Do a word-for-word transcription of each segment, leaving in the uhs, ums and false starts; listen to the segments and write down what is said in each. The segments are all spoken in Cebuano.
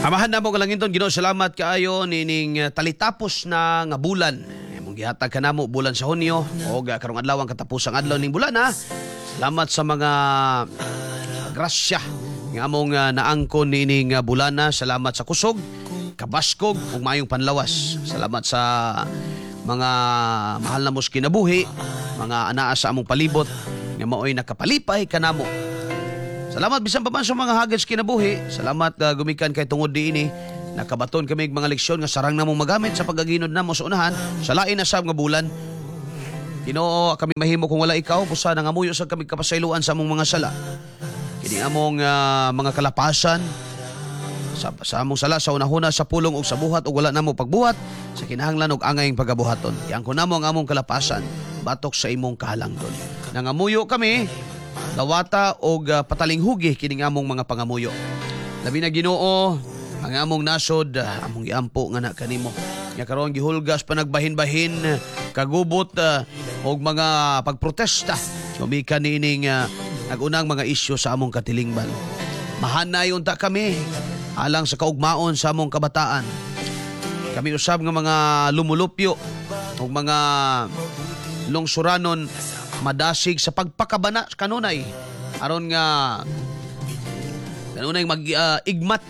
Amahan namo nga langiton, Ginoo, salamat kaayo nining uh, talitapos na nga bulan. Imong gihatag kanamo bulan sa Hunyo og uh, karong adlaw ang katapusang adlaw ning bulan ha. Salamat sa mga grasya nga among uh, naangkon nining uh, bulana. Salamat sa kusog, kabaskog ug maayong panlawas. Salamat sa mga mahal namo sa kinabuhi, mga anaa sa among palibot nga maoy nakapalipay kanamo. Salamat bisan pa man sa mga hagit sa kinabuhi. Salamat uh, gumikan kay tungod diini nakabaton kami og mga leksyon nga sarang namong magamit sa pagaginod namo sa unahan sa lain na sab nga bulan. Ginoo, kami mahimo kung wala ikaw, busa nangamuyo sa kami kapasayloan sa among mga sala. Kini among ah, mga kalapasan sa, sa among sala sa unahuna, sa pulong ug sa buhat ug wala namo pagbuhat sa kinahanglan ug angayng pagabuhaton. Iangkon namo ang among kalapasan batok sa imong kahalangdon. Nangamuyo kami, dawata og ah, patalinghugi kining among mga pangamuyo. Labi na, Ginoo, ang among nasod, ah, among giampo nga na kanimo. Nga karon gihulgas pa nagbahin-bahin kagubot ah, og mga pagprotesta gumikan niining uh, nagunang mga isyu sa among katilingban. Mahanay unta kami alang sa kaugmaon sa among kabataan. Kami usab nga mga lumulupyo ug mga lungsuranon madasig sa pagpakabana kanunay aron nga kanunay mag ah, igmat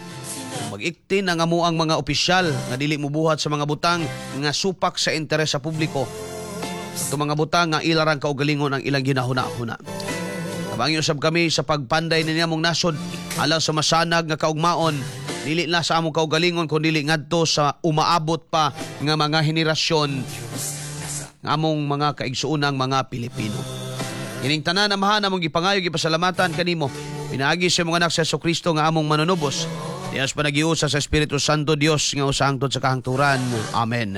mag-iktin ang amuang mga opisyal nga dili mobuhat sa mga butang nga supak sa interes sa publiko. Ito mga butang nga ilarang kaugalingon ang ilang ginahuna-huna. Tabangi usab kami sa pagpanday ni among nasod alang sa masanag nga kaugmaon, dili na sa among kaugalingon kun dili ngadto sa umaabot pa nga mga henerasyon nga among mga kaigsuonang mga Pilipino. Ining tanan, Amahan, among gipangayo, gipasalamatan kanimo pinaagi sa imong anak sa Kristo nga among manunubos. Dios panagiusa sa Espiritu Santo, Dios nga usa hangtod sa kahangturan. Amen.